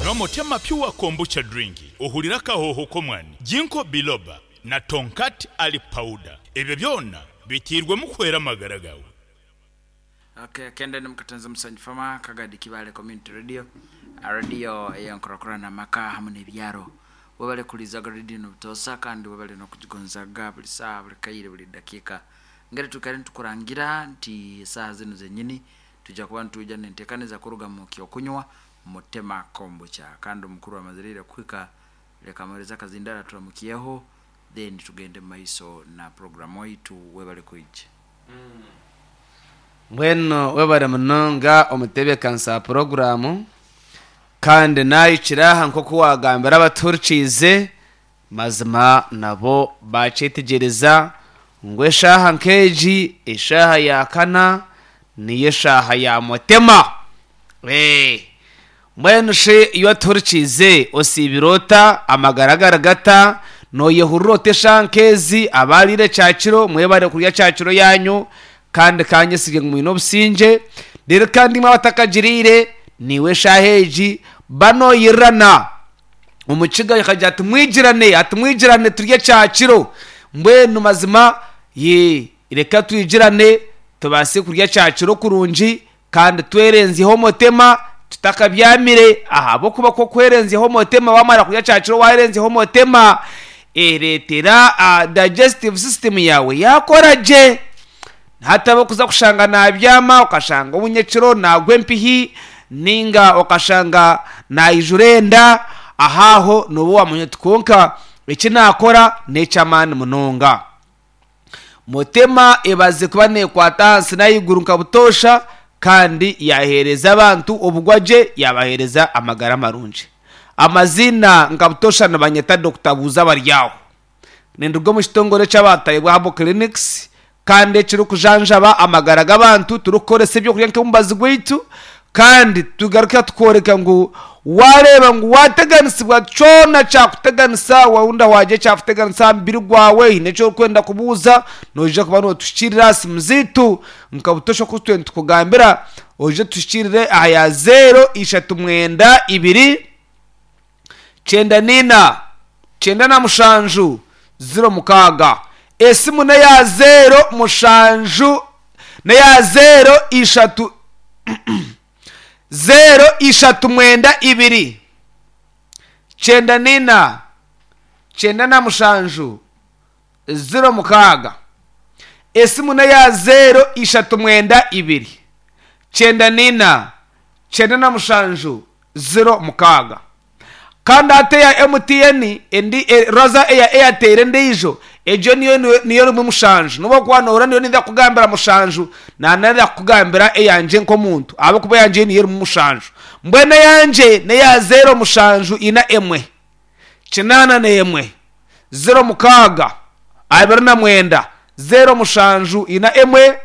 Nywa Motema Pure Kombucha Drink ohurire akahooho k'omwani, Ginkgo Biloba na Tongkat Ali Powder. Ebyo byona biteirwemu kuhwera amagara gaawe. Okay, kende ni mukatenza Musanyi Farmer, Kagadi Kibale Community Radio, radio ey'enkurakurana amaka hamu n'ebyaro. Webale kulizaga radio enu butoosa kandi webale n'okugigonzaga buli saaha, buli kaire, buli dakiika. Ngeri twikare nitukurangira nti esaaha zinu zenyini twija kuba nitwija n'enteekaniza kuruga mu ky'okunywa Mutema Kombucha. Kandi omukuru amazire ira kuhika, leka muhereze akazindaro aturamukyeho then tugende mu maiso na program waitu. Webale kwija. Mbwenu webare munonga omutebeekanisa wa puroguraamu kandi naahikire aha nk'oku waagambira abatuhurikiize, mazima nabo baakyetegyereza ngu eshaaha nk'egi, eshaaha ya kana niyo eshaaha ya Mutema. Mbwenu shi iwe atuhurikiize osiibire ota? Amagara gari gata? Nooyehurira ota eshaaha nk'ezi? Abaariire kyakiro mwebare kurya kyakiro yaanyu kandi ka nyesige ngu mwine obusingye. Reero kandi imwe abatakagiriire, naiwe eshaaha egi ba nooyirirana. Omukiga akagira ati mwigirane, ati mwigirane turye kyakiro. Mbwenu mazima ye reka twigirane tubaase kurya kyakiro kurungi Kandi twerenzyeho omutema tutakabyamire, ahabw'okuba ku okwerenzyaho omutema waamara kurya kyakiro waayerenzyaho omutema, ereetera digestive system yaawe yaakora gye. Hataba okuza kushanga naabyama okashanga ou nyekiro naagwa empihi nainga okashanga naijura enda, aho aho nooba waamanya oti kwonka eki naakora n'eky'amaani munonga. Mutema ebaze kuba neekwata ahansi n'ahaiguru nka butoosha kandi yaaheereza abantu obugwa gye yaabaheereza amagara marungi. Amaziina nka butoosha nibanyeta Dokita Buuza Baryaho. Ninduga omu kitongore eky'abaatayibwa Herbal Clinics kandi ekirikujanjaba amagara g'abantu turikukoresa ebyokurya nk'omubazi gwaitu Kandi tugaruka tukworeka ngu waareeba ngu waateganisibwa kyona kyakuteganisa, wahunda waagira ekyakuteganisa aha mubiri gwawe, haine eki orikwenda kubuuza, noija kuba nootuhikiirira aha simu zaitu nka butoosha oku twe nitukugambira, oije otuhikiirire aha ya zeero ishatu mwenda ibiri kyenda naina kyenda na mushanju ziro mukaaga. Esimu n'eya zeero mushanju n'eya zeero ishatu zeero ishatu mwenda ibiri kyenda naina kyenda na mushanju 06. Esimu n'eya zeero ishatu mwenda ibiri, kyenda naina, kyenda na mushanju, 06. Kandi hati eya MTN endi raza eya Airtel endiijo egyo niyo niyo erimu mushanju. N'obu orikuba nohurira niyo ninza kukugambira mushanju, naananira kukugambira eyangye nk'omuntu ahabw'okuba eyangye niyo erimu mushanju. Mbwenu eyangye n'eya zeero mushanju ina emwe. Kinaana n'emwe, 06, 29, 07 ina emwe,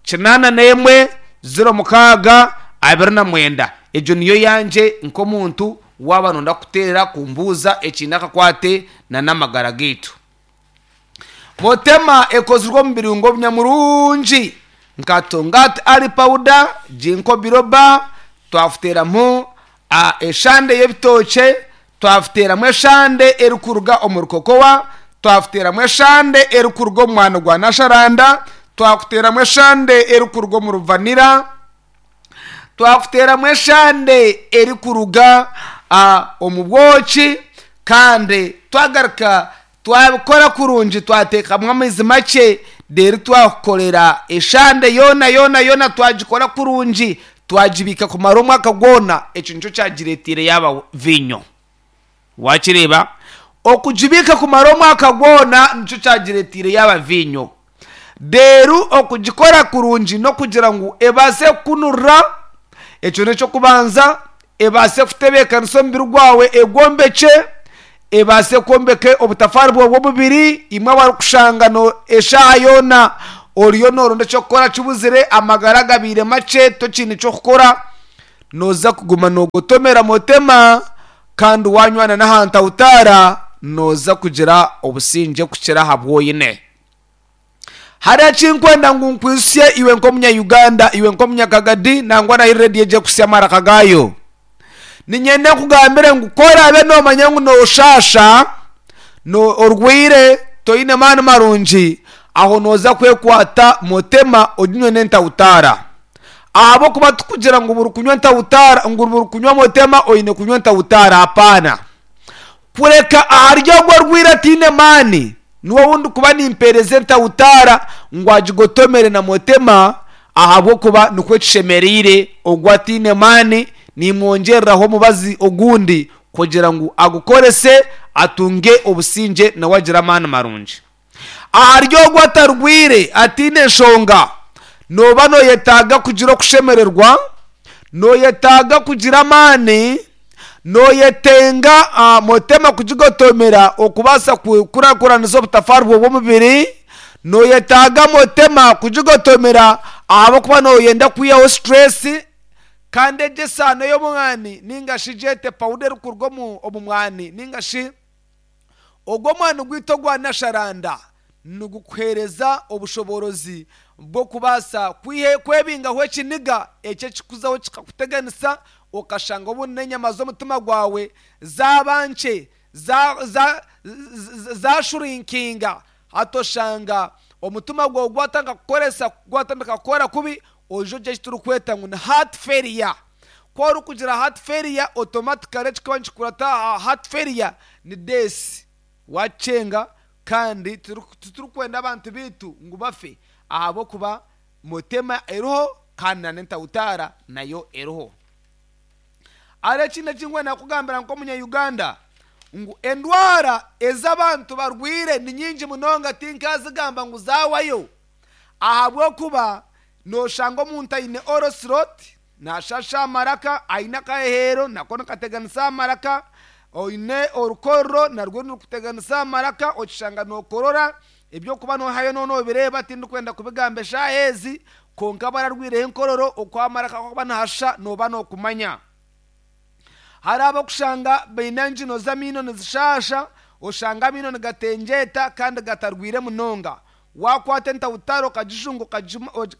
kinaana n'emwe, 06, 29. Egyo niyo yangye nk'omuntu waaba nooyenda kuteera kumbuuza ekiine akakwate na n'amagara gaitu. Motema ekozirwe omu birungo binyamurungi nka Tongat Ali Powder, Ginkgo Biloba, twafuteeramu eshande y'ebitookye, Twafuteeramu eshande erikuruga omuri kokowa, twafuteeramu eshande erikuruga omu mwani gwa nasharanda, twakuteeramu eshande erikuruga omuri vanira, twakuteeramu eshande erikuruga omu bwoki, kandi twagaruka twabikora kurungi twateekamu amaizi makye, reero twakukorera eshande yoona yoona yoona twagikora kurungi, Twagibiika kumara omwaka gwona, ekyo nikyo kyagireeteire yaaba viinyo. Waakireeba? Okugibiika kumara omwaka gwona nikyo kyagireeteire yaaba viinyo. Reero okugikora kurungi n'okugira ngu ebaase kukunurira, ekyo n'eky'okubanza, ebaase kutebeekanisa omubiri gwawe egwombekye, ebaase kwombeka obutafaari bwawe bw'omubiri. Imwe abarikushanga eshaaha yoona oriyo nooronda eky'okukora kibuzire, amagara gabaire makye tokiine ky'okukora, nooza kuguma noogotomera motema kandi waanywana n'ahantu ahutaara, nooza kugira obusingye kukira aha bu oine. Hariho eki nkwenda ngu nkwijutsye iwe nk'omunya-Uganda, iwe nk'omunyakagadi, nangwa na haihi rediyo egi erikuhitsya amaraka gaayo. Niinyenda nkugambire ngu ku oraabe noomanya ngu nooshaasha, orwaire, toine maani marungi, aho nooza kwekwata motema oginywe n'entawutaara. Ahabw'okuba tikugira ngu buri kunywa entawutaara ngu buri kunywa motema oine kunywa entawutaara, hapaana. Kureka ahari ogwo orwaire ataine maani, niwe ou ndikuba nimpeereza entawutaara ngu agigotomere na motema, ahabw'okuba nikwo kishemereire ogwo ataine maani, nimwongyereraho omubazi ogundi kugira ngu agukorese atunge obusingye nawe agire amaani marungi. Ahari ogwo atarwaire ataine nshonga, nooba nooyetaaga kugira okushemererwa, nooyetaaga kugira amaani, nooyetenga motema kugigotomera okubaasa kukurakuranisa obutafaari bwawe bw'omubiri, nooyetaaga motema kugigotomera ahabw'okuba nooyenda kwihaho situreesi kandi egi esaano y'omwani nainga shi gyete pawuda erikuruga omu mwani nainga shi Ogwo omwani gwaitu ogwa Nasharanda nigukuheereza obushoboorozi bw'okubaasa kwebingaho ekiniga ekyo ekikuzaho kikakuteganisa okashanga obundi n'enyama z'omutima gwawe zaaba nkye, zashurinkinga hati oshanga omutima gwawe gwatandika kukoresa gwatandika kukora kubi oija ogira eki turikweta ngu ni heart failure. Ku orikugira heart failure automatically ekirikuba nikikurata aha heart failure ni death, wakyenga kandi titurikwenda abantu baitu ngu bafe ahabw'okuba motema eriho kandi na n'entawutaara nayo eriho. Hariho ekindi eki ndikwenda kukugambira nk'omunya Uganda ngu endwara ezi abantu barwaire ni nyingi munonga tinkazigamba ngu zaawayo ahabw'okuba noshanga omuntu aine orosiroti Naashasha amaraka, aine akaheheero nako nikateganisa amaraka, oine orukororo narwo nirukuteganisa amaraka, okishanga nookorora, eby'okuba noohayo nooba noobireeba tindikwenda kubigamba eshaaha ezi, kwonka abararwireho enkororo oku amaraka garikuba nihashusha nooba nookumanya. Hariho ab'okushanga baine engino z'amaino nizishaasha, oshanga amaino nigatengyeeta kandi gatarwaire munonga. Waakwata entawutare okagijunga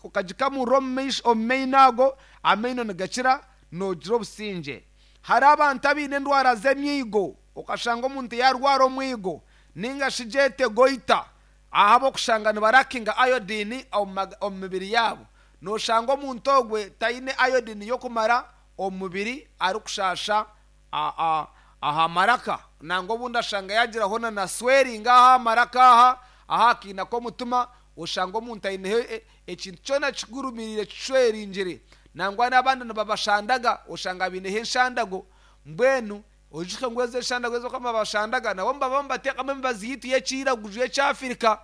okagikamurira omu maino ago, amaino nigakira noogira obusingye. Hariho abantu abaine endwara z'emyigo, okashanga omuntu yaarwara omwigo nainga shi gyete goita, ahabw'okushanga nibarakinga iodine omu mibiri yaabo. Nooshanga omuntu ogwe taine iodine y'okumara omu mubiri arikushaasha aha maraka nangwa obundi ashanga yagiraho na na swelling aha aha maraka aha aha kaina k'omutima oshanga omuntu aineho ekintu kyona kigurumiire kishweringire nangwa n'abandi nibabashandaga oshanga baineho enshandago mbwenu oijuke ngu ezo enshandago ezi barikuba nibabashandaga nabo nibaba nibateekamu emibazi yaitu y'ekiiraguju y'ekyafirika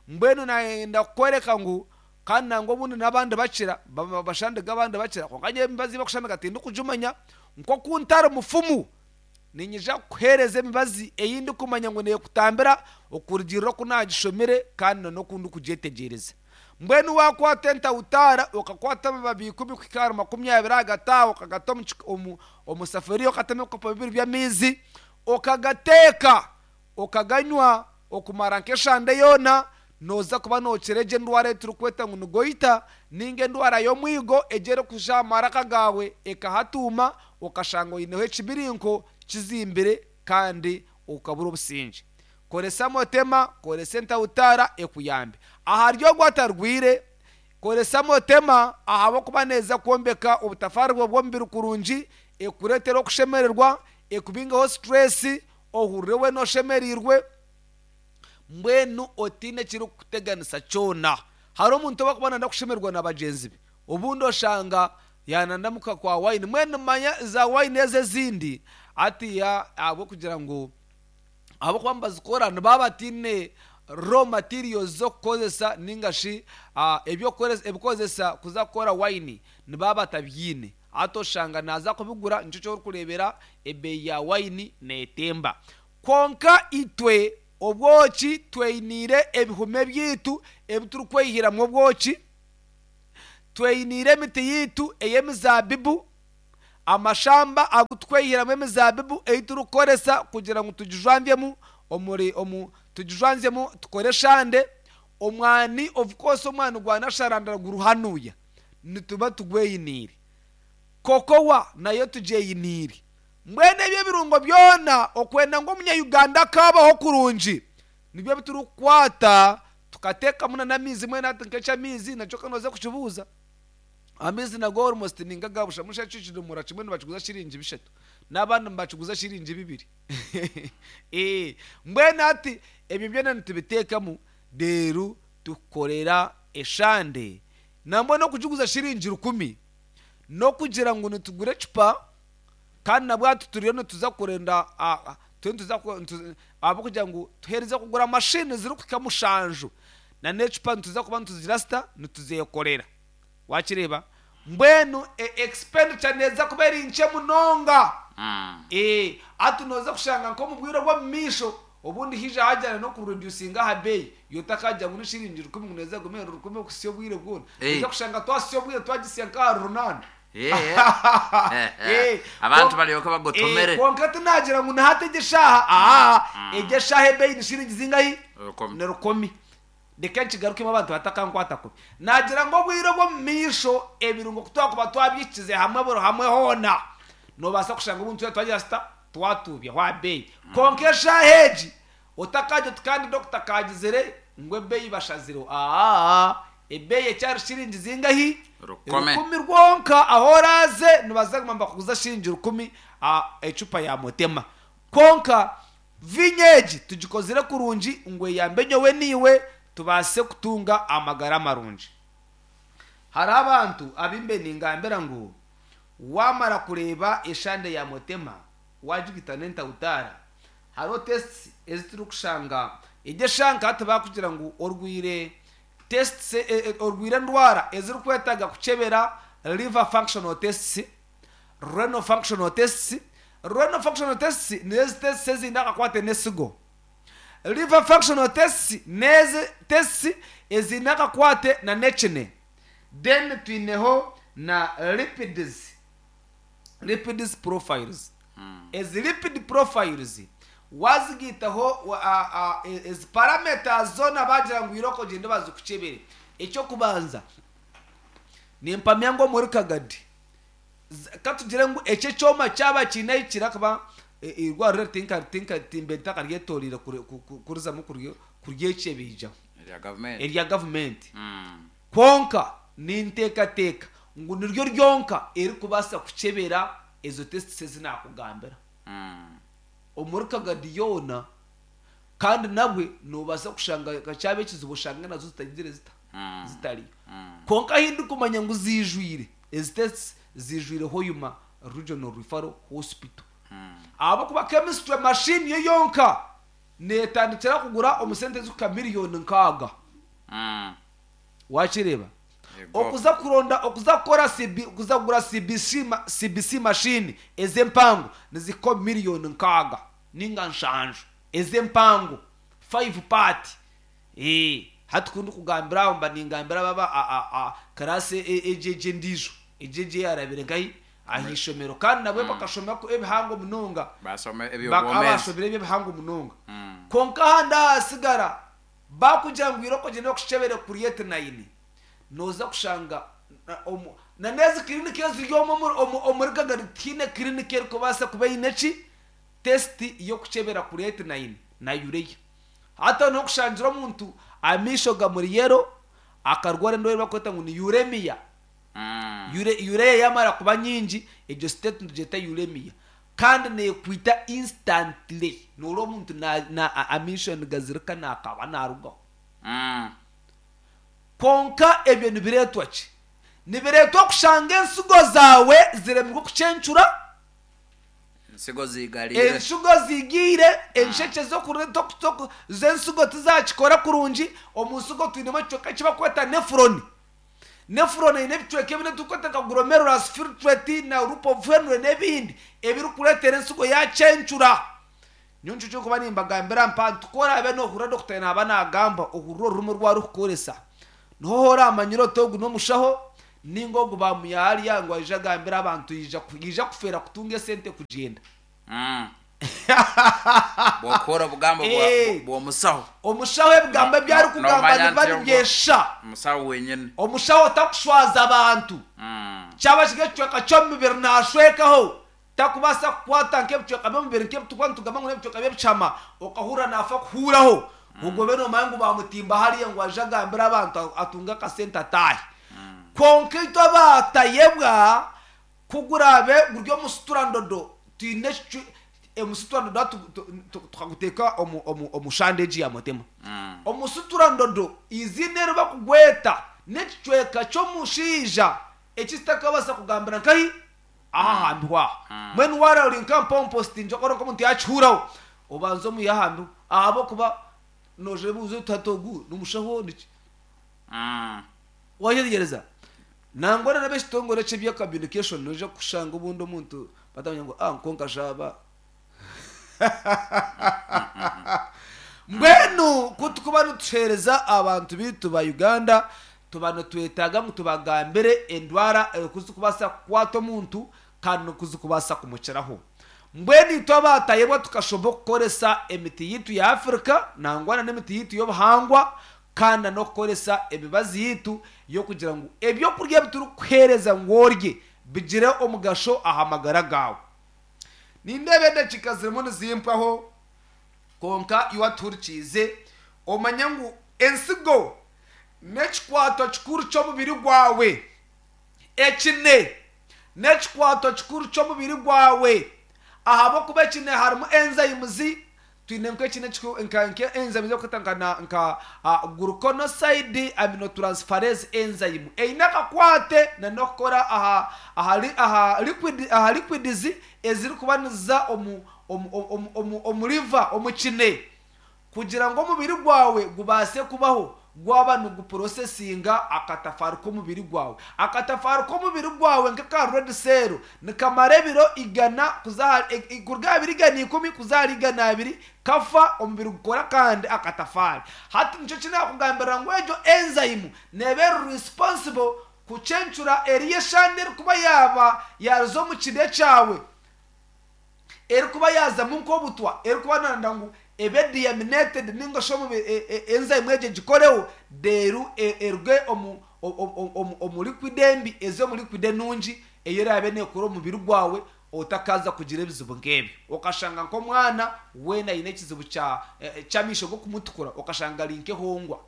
mbwenu nayenda kukworeka ngu Kandi nangwa obundi n'abandi bakira, bashandiga abandi bakira, kwonka nyowe emibazi ei barikushandiga tindikugimanya. Nk'oku ntari mufumu, niinyija kukuheereza emibazi ei ndikumanya ngu neekutambira okurugiirira oku naagishomire kandi n'oku ndikugyetegyereza. Mbwenu waakwata entawutaara okakwata amababi ikumi kuhika ahari makumyabiri ahagati aho okagata omu safuriya okatamu ebikopo bibiri by'amaizi okagateeka, Okaganywa okumara nk'eshande yoona, nooza kuba nookira egyo endwara ei turikweta ngu ni goita nainga endwara y'omwigo egyo erikuja aha maraka gaawe ekahatuuma okashanga oineho ekibirinko kizimbire kandi okabura obusingye. Koresa motema, koresa entawutaara ekuyambe. Ahari ogwo atarwaire, koresa motema ahabw'okuba neeza kwombeka obutafaari bwawe bw'omubiri kurungi, ekureetere okushemererwa, ekubingeho situreesi, Ohurire weena oshemereirwe, mbwenu otaine ekirikukuteganisa kyona. Hariho omuntu obu arikuba nayenda kushemererwa na bagyenzi be, obundi oshanga yaanandamuka kwa wayini. Mbwenu manya za wayini ezo ezindi hatiiya ahabw'okugira ngu ahabw'okuba nibazikora nibaba bataine raw materials z'okukozesa nainga shi eby'okukozesa kuza kukora wayini nibaba batabyine. Hati oshanga naaza kubigura, nikyo eki orikureebera ebeeyi ya waini neetemba. Kwonka itwe obwoki tweiniire ebihumi byaitu ebi turikweyihiramu obwoki, tweiniire emiti yaitu ey'emizaabibu, amashamba agu turikweyihiramu emizaabibu ei turikukoresa kugira ngu tugijwanzyemu omuri omu tugijwanzyemu tukore eshande. Omwani of course omwani gwa nasharandara guri hanuya. Nituba tugweyiniire. Kokowa nayo tugyeyiniire. Mbwenu ebyo ebirungo byona okwenda ngu omunya-Uganda akaabaho kurungi nibyo bi turikukwata tukateekamu na n'amaizi mbwenu hati nk'eky'amaizi nakyo ka nooza kukibuuza. Amaizi nago almost ni nk'aga busha mbwenu shi eki ekidomora kimwe nibakiguza shiringi bishatu n'abandi nibakiguza shiringi bibiri. Mbwenu hati ebyo byona nitubiteekamu reero tukukorera eshande nambwenu okugiguza shiringi rukumi n'okugira ngu nitugura ecupa Kandi nabwo hati turiyo nituza kurenda turiyo nituza ahabw'okugira ngu tuherize kugura mashini zirikuhika mushanju na n'ecupa nituza kuba nituzigira zita nituzekorera wakireeba mbwenu expenditure neeza kuba eri nkye munonga hati nooza kushanga nk'omu bwire obw'omu maisho obundi haija hagyenda n'okuredusinga aha beeyi iwe otakagira ngu ni shiringi rukumi ngu neeza kugume eri rukumi okuhitsya obwire bwona nooza kushanga twahitsya obwire twagihitsya nk'ahari runaana. Abantu baryoke bagotomere. Kwonka tinagira ngu ni hati egi eshaaha, aa, egi eshaaha ebeeyi ni shiringi zingahi? Rukumi. Ni rukumi. Reka nkigarukemu abantu batakankwata kubi. Naagira ngu obwire obw'omu maisho ebirungo ku twakuba twabyikize hamwe buri hamwe hoona, noobaasa kushanga obundi twena twagira tuta? Twatuubyaho aha beeyi. Kwonka eshaaha egi, Otakagira oti kandi dokita akaagizire ngu ebeeyi bashazireho. Aa, ebeeyi ekyari shiringi zingahi? Rukumi. Rukumi rwonka. Ahu oraaze nibaza kuguma nibakuguza shiringi rukumi ecupa ya Motema. Kwonka viinyo egi tugikozire kurungi ngu eyambe nyowe naiwe tubaase kutunga amagara marungi. Hariho abantu abu mbe ningambira ngu waamara kureeba eshande ya Motema waagigita n'entawutaara, Hariho tests ezi turikushanga egyo eshaaha nka hati baakugira ngu orwaire tests orwaire endwara ezirikwetaaga kukyebera liver functional tests, renal functional tests, renal functional tests nizo ezi tests eziine akakwate n'esigo. Liver functional tests n'ezi tests eziine akakwate na n'ekine. Then twineho na lipids. Lipids profiles. Ezi lipid profiles wazigaitaho ezi parameters zoona bagira ngu irooko ogyende bazikukyebere. Eky'okubanza, nimpamya ngu omuri Kagadi, katugire ngu eki ekyoma kyaba kiine ahi kiri ahakuba eirwariro eri timbe ntakaryetoreire kurizamu kuryekyebeija erya gavumenti. Kwonka ninteekateeka ngu niryo ryonka erikubaasa kukyebera ezo tests ezi naakugambira omuri Kagadi yoona kandi nabwe noobaasa kushanga nka kyaba ekizibu oshange nazo zitagizire zita? Zitariyo. Kwonka ahu ndikumanya ngu ziijwire, ezi tests ziijwire Hoima Regional Referral Hospital. Ahabw'okuba chemistry machine yo yonka neetandikira kugura omu sente ezirikuhika miriyoni nkaaga. Wakireeba? Yego. Okuza kuronda, okuza kukora CB, okuza kugura CBC, ma- CBC machine ez'empango nizihika omu miriyoni nkaaga ninga nshanju ez'empango five part. Eeh, hati ku ndikugambira aho mba ningambira aba a, a, a, class e- e- egyo egyo endiijo, egyo egyo eyarabire nkahi? Aha ishomero. Kandi nabwe bakashoma ku ebihango munonga. Basoma Bak- eby'obwomeezi. abashomire eby'ebihango munonga. Kwonka ahandi ahasigara Baakugira ngu irooko ogyende bakukyebere creatinine, nooza kushanga na n'ezi kiriniki eziri omu omuri Kagadi tihaine kiriniki erikubaasa kuba eine ki? Test y'okukyebera creatinine na urea. Hati aho niho okushangira omuntu amaisho gamuri yellow, akarwara endwara ei barikweta ngu ni uremia. Urea yaamara kuba nyingi, egyo state nitugyeta uremia. Kandi neekwita instantly. Nooreeba omuntu amaisho nigazirika naakaaba naarugaho. Kwonka ebyo nibireetwa ki? Nibireetwa kushanga ensigo zaawe ziremirwe kucencura. Ensigo ziigariire. Ensigo ziigiire, enshekye z'ensigo tizaakikora kurungi. Omu nsigo twinemu ekicweka eki barikweta nefuroni. Nephron eine ebicweka ebindi ebiturikweta nka glomerulus filtrate na loop of Henle n'ebindi ebirikureetera ensigo yaacencura. Nyowe nikyo ky'okuba nimbagambira mpa nti ku oraabe noohurira dokita naaba naagamba ohurire orurimi oru arikukoresa. Niho horaamanyira oti ogu n'omushaho nainga ogu baamuiha hariya ngu aije agambire abantu yaija kufeera kutunga esente kugyenda. Bw'okuhurira obugambo bw'omusaho. Omushaho ebigambo ebi arikugamba nibiba nibyesha. Omusaho wenyine. Omushaho takushwaza abantu. Kyaba kiri ekicweka ky'omubiri naashwekaho. Takubaasa kukwata nk'ebicweka by'omubiri nk'ebi turikuba nitugamba ngu n'ebicweka by'ebishama okahurira naafa kuhuuraho. Ogwo obe noomanya ngu baamutimba hariya ngu aije agambire abantu atunge akasente ataahe. Kwonka itwe abaatayebwa ku guraabe guri omusuturandodo twine ekicu omusuturandodo hati tukaguteeka omu shande egi ya Mutema. Omusuturandodo eiziina eri barikugweta n'ekicweka ky'omushaija eki kitakabaasa kugambira nkahi? Aha ahambiho aha. Mbwenu waara ori nka mpompositingi okora nk'omuntu yaakihuuraho, obanze omwihe aha mbiho ahabw'okuba noija oyebuuze oti hati ogu n'omushaho niki? Waayetegyereza? Nangwa na n'ab'ekitongore eky'ebya communication noija kushanga obundi omuntu batamanya ngu ah kwonka shi aba Mbwenu ku turikuba nituheereza abantu baitu ba Uganda, tuba nitwetaaga ngu tubagambire endwara oku zirikubaasa kukwata omuntu kandi n'oku zirikubaasa kumukiraho. Mbwenu itwe abaatayebwa tukashoma okukoresa emiti yaitu ya Africa nangwa na n'emiti yaitu y'obuhangwa kandi na n'okukoresa emibazi yaitu y'okugira ngu ebyokurya ebi turikukuheereza ngu orye bigire omugasho aha magara gaawe. Nindeeba edakiika zirimu nizimpwaho, kwonka iwe atuhurikiize omanye ngu ensigo n'ekikwato kikuru ky'omubiri gwawe. Ekine n'ekikwato kikuru ky'omubiri gwawe ahabw'okuba ekine harimu enzymes, twine nk'ekine nka enzymes ezirikwetwa nka nka gluconoside aminotransferase enzyme eine akakwate n'okukora aha aha aha liquid aha liquids ezirikuba niziza omu omu omu omu liver omu kine. Kugira ngu omubiri gwawe gubaase kubaho, gwaba nigupurosesinga akatafaari k'omubiri gwawe. Akatafaari k'omubiri gwawe nk'aka red cell nikamara ebiro igana kuza ahari kuruga aha biro 110 kuza ahari 200 kafa omubiri gukora akandi akatafaari. Hati nikyo eki naakugambirira ngu egyo enzyme neeba eri responsible kucencura eriyo eshande erikuba yaaba yaaruza omu kine kyawe. erikuba yaazamu nk'obutwa, erikuba nanda ngu ebe deaminated ninga shi omu enzyme egyo egikoreho reero eruge omu omu liquid embi eze omu liquid enungi ei eraabe neekora omu mubiri gwawe otakaaza kugira ebizibu nk'ebyo. Okashanga nk'omwana weena aine ekizibu kya ky'amaisho g'okumutukura okashanga ari nk'ehongwa.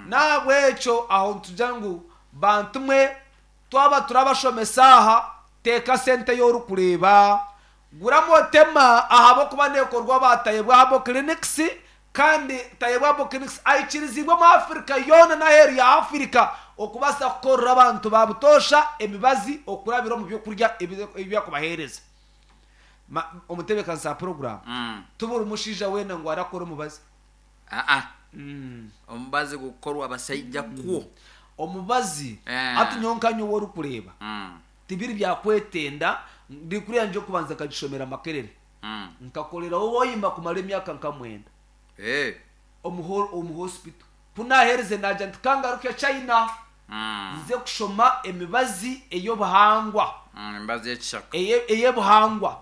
N'ahabw'ekyo aho nitugira ngu bantu mwe Twaba turabashomesa aha, teeka sente ei orikureeba. Gura Motema ahabw'okuba neekorwa ba Tayebwa Herbal Clinics kandi Tayebwa Herbal Clinics aikiriziibwe omu Africa yoona n'aheeru ya Africa okubaasa kukorera abantu ba butoosha emibazi okurabira omu by'okurya ebi barikubaheereza. Omutebeekanisa wa puroguraamu, Ti buri mushaija weena ngu arakora omubazi. Aa. Omubazi gukukorwa abasaija kwo. Omubazi, Hati nyowe nka nyowe orikureeba, tibiri bya kwetenda, diguri yangye y'okubanza nkagishomera Makerere. Nkakoreraho Hoima kumara emyaka nka mwenda omu hospital. Ku naaherize naagira nti ka ngaruke China nze kushoma emibazi ey'obuhangwa. Emibazi y'ekishaka. Ey'obuhangwa.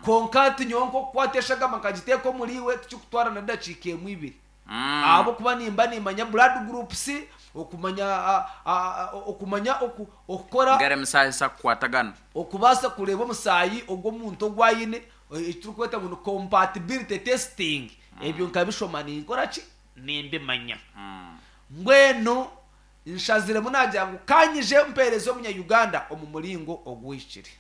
Kwonka hati nyowe nk'okukwata eshagama nkagiteeka omuriiwe tikirikutwara na dakiika emwe ibiri. Ahabw'okuba nimba nimmanya blood groups, okumanya okumanya okukora. Ngari emisaahi etakukwatagana. Okubaasa kureeba omusaahi ogw'omuntu ogu aine, eki turikweta ngu ni compatibility testing, ebyo nkabishoma ninkora ki? Nimbimanya. Mbwenu nshaziremu naagira ngu ka nyije mpeereze omunya-Uganda omu muringo oguhikire.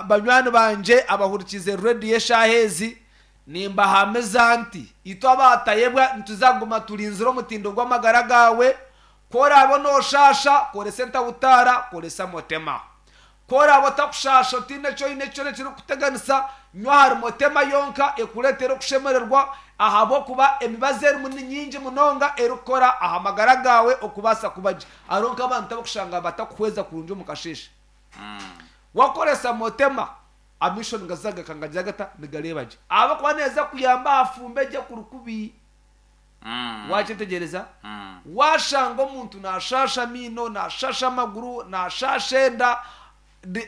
Banywani bangye abahurikiize rediyo eshaaha ezi, nimbahamiza nti itwe abaatayebwa nituza kuguma turinzire omutindo gw'amagara gaawe. Ku oraabe nooshaasha, koresa entahutaara, koresa motema. Ku oraabe otakushaasha otaine eki oine kyona ekirikukuteganisa, nywa ahari motema yonka ekureetere okushemererwa ahabw'okuba emibazi erimu ni nyingi munonga erikukora aha magara gaawe okubaasa kuba gye. Hariho nk'abantu abarikushanga batakuhweza kurungi omu kasheeshe. Wakoresa motema, amaisho nigaza gakangagira gata? Nigareeba gye. Ahabw'okuba neeza kuyamba aha fumba egyo ekuri kubi. Wakyetegyereza? Waashanga omuntu naashaasha amaino, naashaasha amaguru, naashaasha enda,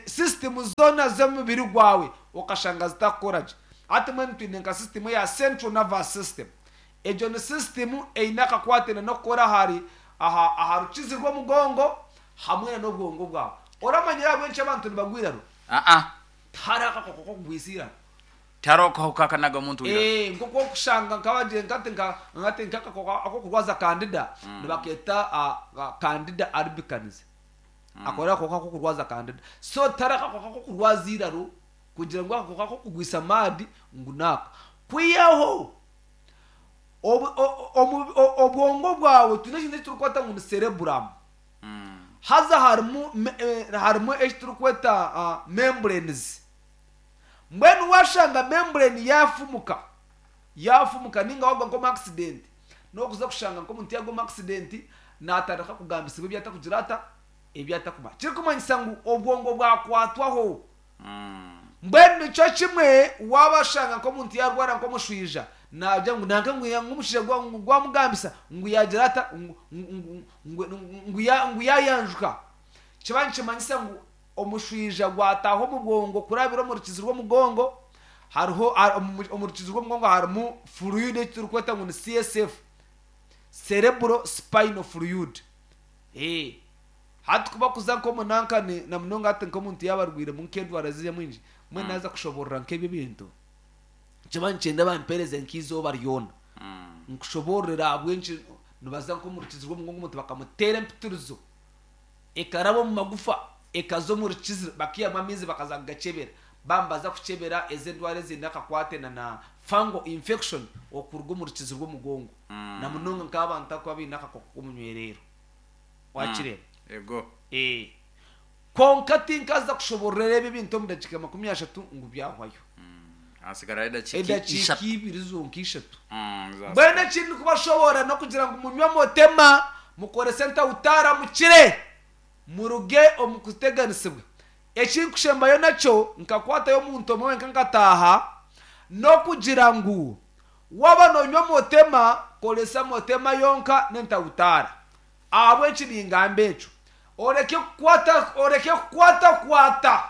sisitimu zoona z'omubiri gwawe okashanga zitarikukora gye. Hati mbwenu twine nka sisitimu eya central nervous system. Egyo ni sisitimu eine akakwate n'okukora ahari aha rukizi rw'omugongo hamwe n'obwongo bwawe. Oramanyire ahabw'enki abantu nibagwa eiraro? Aa. Tihariho akakooko k'okugwisa eiraro. Tihariho akahuka akanaga omuntu eiraro. Ee, nk'oku orikushanga nk'abagira nkati nka nkati nk'akakooko ak'okurwaza kandida nibakeeta candida albicans. Ako n'akakooko ak'okurwaza kandida. So tihariho akakooko ak'okurwaza eiraro kugira ngu akakooko ak'okugwisa maadi ngu n'aka. Kwihaho obwongo bwawe twine ekintu eki turikweta ngu ni cerebrum. Haza harimu harimu eki turikweta membranes. Mbwenu waashanga membrane yaafumuka, yaafumuka nainga waagwa nk'omu accident, n'okuza kushanga nk'omuntu yaagwa omu accident naatandika kugambisibwa ebi atakugira ata, ebi atakumanya. Kirikumanyisa ngu obwongo bwakwatwaho. Mbwenu nikyo kimwe waaba oshanga nk'omuntu yaarwara nk'omushwija, naagira ngu nanka ngu omushaija gwamugambisa ngu yaagira ata, ngu yaayanjuka. Kiba nikimanyisa ngu omushwija gwataaha omu bwongo kurabira omu rukizi rw'omugongo, hariho omu rukizi rw'omugongo harimu fluid ei turikweta ngu ni CSF, cerebral spinal fluid. Hati ku bakuza nk'omu nanka ni na munonga hati nk'omuntu yaaba arwairemu nk'endwara ziriya mwingi, mbwenu naaza kushoboorora nk'ebyo ebintu, nikiba nikyenda bampeereze nk'eizooba ryona nkushoboororere ahabw'enki nibaza nk'omu rukizi rw'omugongo omuntu bakamuteera empitirizo ekaraba omu magufa ekaza omu rukizi bakaihamu amaizi bakaza kugakyebera. Baaba nibaza kukyebera ezo endwara eziine akakwate na na fungal infection okuruga omu rukizi rw'omugongo na munonga nk'abantu abakuba baine akakooko k'omunywereero. Wakireeba? Ego. Ee. Kwonka tinkaza kushobororera ebi ebintu omu dakiika 30 ngu byahwayo. Hasigarayo edakiika Edakiika ishatu. ibiri zonka ishatu. Zasigara. Mbwenu eki ndikubashoborora n'okugira ngu munywe motema, mukorese ntawutaara mukire, muruge omu kuteganisibwa. Eki ndikushembayo nakyo, nkakwatayo omuntu omwe wenka nkataaha, n'okugira ngu Waaba noonywa motema, koresa motema yonka n'entawutaara. Ahabw'enki ningamba ekyo? Oreke kukwata oreke kukwatakwata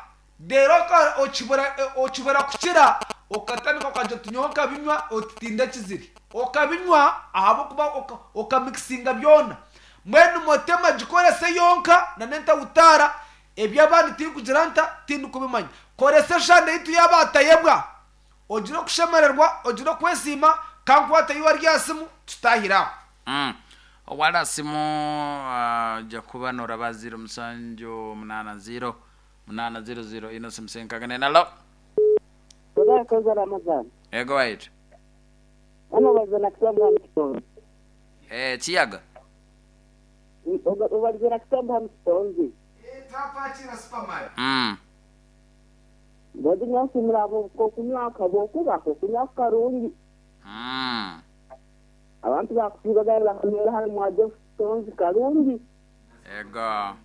reero okibura okibura kukira okatandika okagira oti nyowe nkabinywa oti tindakizire. Okabinywa ahabw'okuba okamikisinga byona. Mbwenu motema gikorese yonka n'entawutaara, eby'abandi tinkugira nta? Tindikubimanya. Koresa eshande yaitu y'abaatayebwa. Ogire okushemererwa, ogire okwesiima, ka nkwate iwe ari aha simu, tutahire aho. Owari aha simu oija kuba noraba ziiro musanju munaana ziiro munaana ziiro ziiro ina simu senkaga nena alo. Ozakoza Ramadhan. Ego waitu. Hano obarize na Kisambo hanu Kitonzi. Eh, Kiyaga. Obarize na Kisambo hanu Kitonzi. Twakwakiira Superman. Mbwenu nyowe nsiimire ahabw'okunywa ahabw'okuba okunywa ku karungi. Abantu baakusiiba baabe bakanywera hanu mwa Jeff Kitonzi karungi. Ego.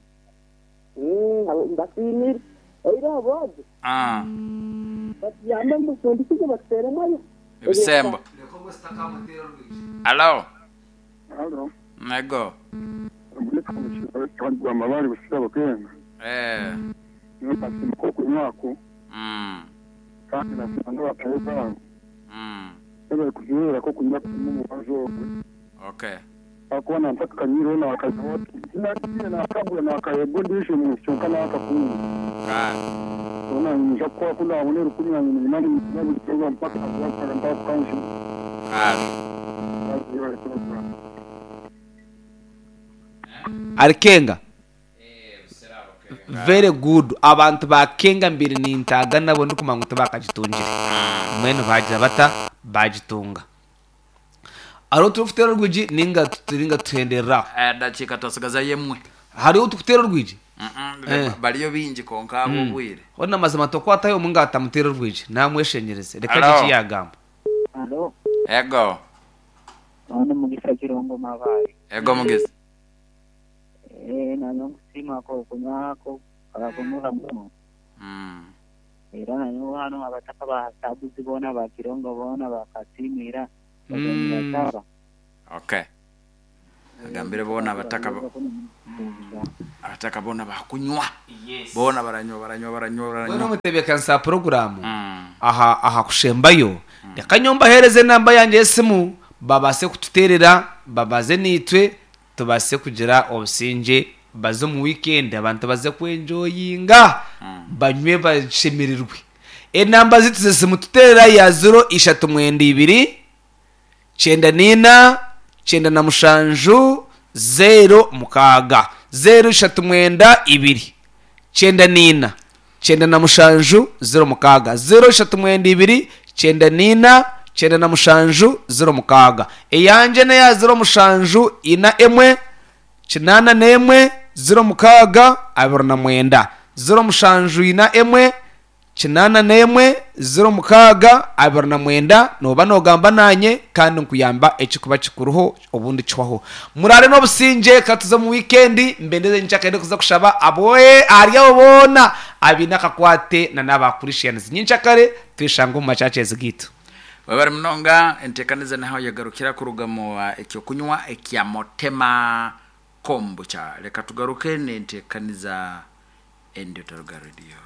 Mbasiimire. Oihireho boojo batuyambe ngu bafundikize batuteeremu Ebisembo. Reka ogwo sitakamuteera orwigi. Alo. Alo. Ego. Gwa Busirabo Kenga. Eh. Nyowe nasiima k'okunywa aku kandi nasiima n'abatahi baabo webare kuzibeera k'okunywa kurimu omubazi ogwe. Okay. Ahakuba na ntakakanywireho naakanywa oti tinakiine naakagura naakaheebwa ondiijo muntu kyonka naakakunda. Kare. Reero naanye niinyija kukora ku ndaabone erukumi yangye niguma ninginywa buri izooba mpaka mpaka kukanshuma. Kare. Webare puroguraamu. Arikenga. Very good abantu ba Kenga mbaire nintaaga nabo ndikumanya ngu tibakagitungire mbwenu bagira bata bagitunga. Hariho oturikuteera orwigi ninga ninga tuhenderere aho? Edakiika twasigazayo emwe. Hariho oturikuteera orwigi? Eh. Bariyo baingi kwonka ahabw'obwire. Hoona mazima tokwatayo omwe ngu atamuteera orwigi namweshengyereze reka agye Halo. eki yagamba. Halo. Ego. Nyowe Mugisa Kirongo Mabaare. Ego Mugisa. Eeh nanyowe nkusiima akokunywa ako karakunura muno. Era nanyowe hanu abataka ba Sabuzi boona ba Kirongo boona bakasiima ira bagenda nibasaba. Okay. Agambire boona abataka abataka boona bakunywa. Boona baranywa baranywa baranywa Mbwenu baranywa. omutebeekanisa wa puroguraamu aha aha kushembayo, reka nyowe mbaheereze enamba yangye y'esimu babaase kututeerera babaze naitwe tubaase kugira obusingye. Baze omu wiikendi abantu baze kwenjoyinga, banywe bashemererwe. Enamba zaitu z'esimu tuteerera ya ziro ishatu mwenda ibiri, kyenda n'ina, kyenda na mushanju, zeero mukaaga. Zeero ishatu mwenda ibiri, kyenda n'ina, kyenda na mushanju, zeero mukaaga. Zeero ishatu mwenda ibiri, kyenda n'ina, kyenda na mushanju, zeero mukaaga. Eyangye n'eya zeero mushanju ina emwe, Kinaana n'emwe, ziro mukaaga, 29. 07 ina emwe, kinaana n'emwe, ziro mukaaga, 29, nooba noogamba naanye kandi nkuyamba ekirikuba kikuriho obundi kihwaho. Muraare n'obusingye, ka tuze omu wiikendi, mbendeze nyenkyakare kuza kushaba aboohe ahari abo boona abaine akakwate na n'aba Christians. Nyenkyakare tweshange omu machurches gaitu. Webare munonga entekaniza niho yagarukira kuruga mu ekyokunywa ekya Motema Kombucha. Reka tugaruke nentekaniza endi otaruga radio.